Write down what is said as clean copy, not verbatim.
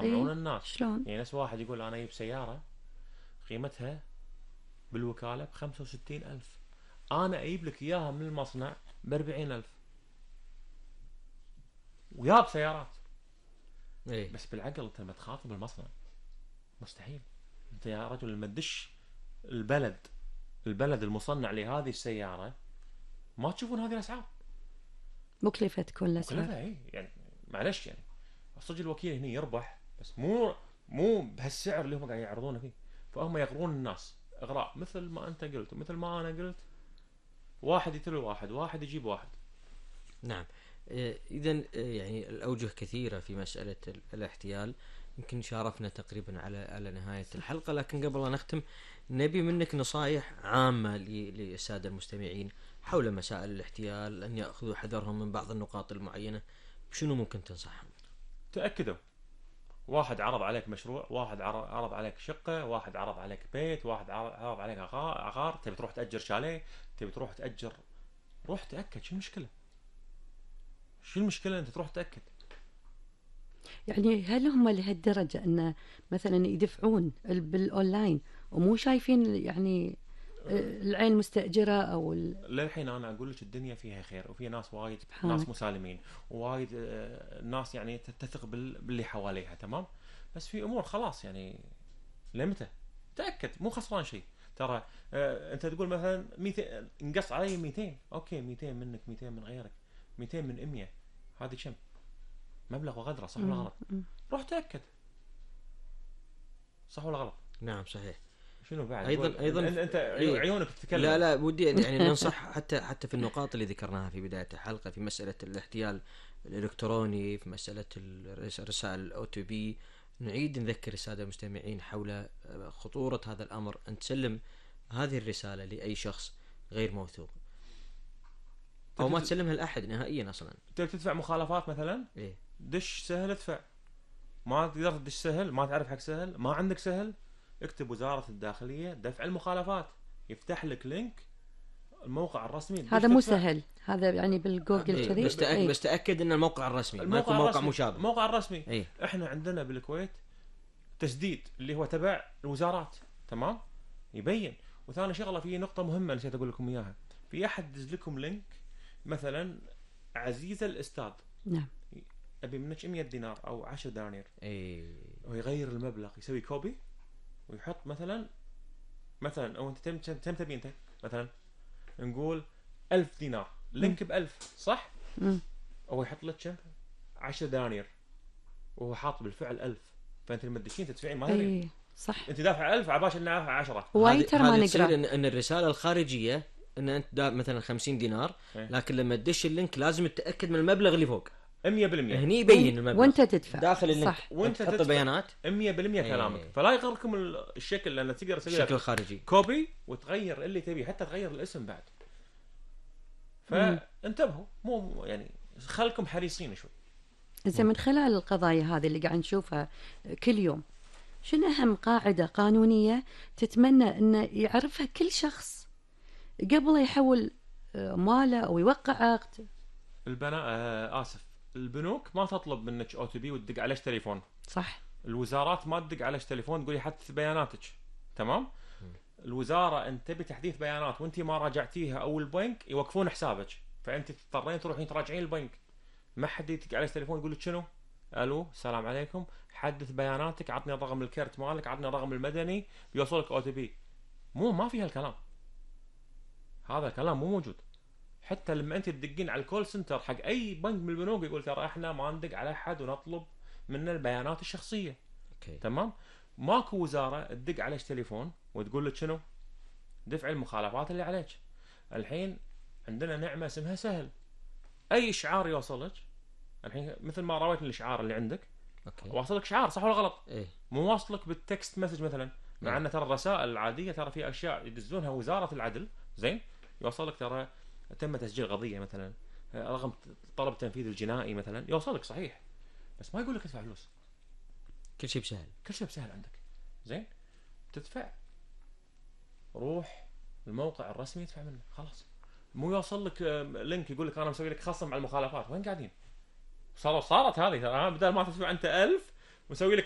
يطمعون الناس. شلون؟ يعني نفس واحد يقول انا اجيب سياره قيمتها بالوكاله ب65,000، انا اجيب لك اياها من المصنع ب40,000 وياب سيارات. ايه بس بالعقل انت لما تخاطب المصنع مستحيل. انت يا رجل لما تدش البلد المصنع لهذه السياره ما تشوفون هذه الاسعار مكلفة تكون الأسعار. مكلفه. اي يعني معلش يعني صدق الوكيل هنا يربح بس مو بهالسعر اللي هم قاعد يعرضونه فيه. فهم يغرون الناس اغراء مثل ما انت قلت ومثل ما انا قلت، واحد يتلو واحد، واحد يجيب واحد. نعم. إذا يعني الأوجه كثيرة في مسألة الاحتيال. يمكن شارفنا تقريبا على نهاية الحلقة، لكن قبل أن نختم نبي منك نصائح عامة للسادة المستمعين حول مسائل الاحتيال، أن يأخذوا حذرهم من بعض النقاط المعينة. شنو ممكن تنصحهم؟ تأكدوا، واحد عرض عليك مشروع، واحد عرض عليك شقة، واحد عرض عليك بيت، واحد عرض عليك عقار، تبي تروح تأجر شاليه، تبي تروح تأجر، روح تأكد. شو المشكلة؟ شو المشكلة أنت تروح تأكد؟ يعني هل هم لهالدرجة أن مثلا يدفعون بالأونلاين ومو شايفين يعني العين مستأجرة أو للحين أنا أقول لك الدنيا فيها خير، وفي ناس وايد ناس مسالمين، ووايد ناس يعني تثق باللي حواليها، تمام. بس في أمور خلاص يعني لمتى تأكد، مو خسران شيء. ترى أنت تقول مثلا 200 انقص علي 200، أوكي 200 منك 200 من غيرك 200 من 100، هذه كم؟ مبلغ وغدره، صح ولا غلط؟ روح تأكد، صح ولا غلط؟ نعم صحيح. شنو بعد؟ ايضا انت عيونك تتكلم. لا ودي يعني ننصح حتى في النقاط اللي ذكرناها في بداية الحلقة، في مسألة الاحتيال الإلكتروني، في مسألة الرسائل الأو تي بي، نعيد نذكر السادة المستمعين حول خطورة هذا الأمر. أن تسلم هذه الرسالة لأي شخص غير موثوق أو ما تسلمها لأحد نهائيا أصلا. تبي تدفع مخالفات مثلا، إيه؟ دش سهل ادفع، ما تقدر تدش سهل، ما تعرف حق سهل، ما عندك سهل، اكتب وزارة الداخلية دفع المخالفات، يفتح لك لينك الموقع الرسمي. هذا مو سهل، هذا يعني بالجوجل كذي. بس تأكد ان الموقع الرسمي، ما يكون موقع مشابه. الموقع الرسمي. أيه؟ احنا عندنا بالكويت تسديد اللي هو تبع الوزارات، تمام، يبين. وثاني شغله، في نقطة مهمة نسيت اقول لكم اياها، في احد يدز لكم لينك مثلا عزيزة الاستاذ، نعم، ابي منك 100 دينار او 10 دنانير، اي، ويغير المبلغ، يسوي كوبي ويحط مثلا او انت تم تبي انت مثلا نقول 1000 دينار، لينك ب1000، صح؟ هو يحط لك كم؟ 10 دنانير، وهو حاط بالفعل 1000، فانت لما تدشين تدفعين ما تدري. صح، انت دافع 1000 على باش انه 10. وايد ترى ما نقرا ان الرساله الخارجيه ان انت مثلا 50 دينار، لكن لما تدش اللينك لازم تتاكد من المبلغ اللي فوق 100%. هني يبين المبلغ وانت تدفع داخل اللينك، صح، وانت تحط البيانات 100% كلامك. فلا يغركم الشكل، لان تقدر تسوي الشكل الخارجي كوبي وتغير اللي تبي، حتى تغير الاسم بعد. فانتبهوا، مو يعني خلكم حريصين شوي. إذا من خلال القضايا هذه اللي قاعد نشوفها كل يوم، شنو أهم قاعدة قانونية تتمنى أن يعرفها كل شخص قبل يحول ماله أو يوقع عقد؟ البنوك ما تطلب منك او تي بي وتدق عليش تليفون، صح. الوزارات ما تدق عليش تليفون تقولي حدث بياناتك، تمام. الوزاره انت تبي تحديث بيانات وانت ما راجعتيها او البنك يوقفون حسابك، فانت تضطرين تروحين تراجعين البنك. ما حد يدق عليك تليفون يقول لك شنو؟ الو السلام عليكم، حدث بياناتك، عطني رقم الكرت مالك، عطني الرقم المدني، بيوصلك او تي بي. ما في هالكلام، هذا الكلام مو موجود. حتى لما انت تدقين على الكول سنتر حق اي بنك من البنوك يقول ترى احنا ما ندق على احد ونطلب منه البيانات الشخصيه. أوكي. تمام. ماكو وزاره تدق عليك تليفون وتقول لك شنو؟ دفع المخالفات اللي عليك. الحين عندنا نعمه اسمها سهل، اي اشعار يوصلك الحين مثل ما رويت الاشعار اللي عندك، واصلك شعار، صح ولا غلط؟ إيه؟ مو واصلك بالتكست مسج مثلا، مع ان ترى الرسائل العاديه ترى في اشياء يدزونها وزاره العدل، زين، يوصلك ترى تم تسجيل قضيه مثلا، رقم طلب التنفيذ الجنائي مثلا، يوصلك صحيح، بس ما يقول لك ادفع فلوس. كل شيء بسهل، كل شيء بسهل عندك، زين، تدفع، روح الموقع الرسمي ادفع منه، خلاص. مو يوصل لك لينك يقول لك انا مسوي لك خصم على المخالفات، وين قاعدين؟ صارت هذه ترى، بدل ما تدفع انت 1000 ونسوي لك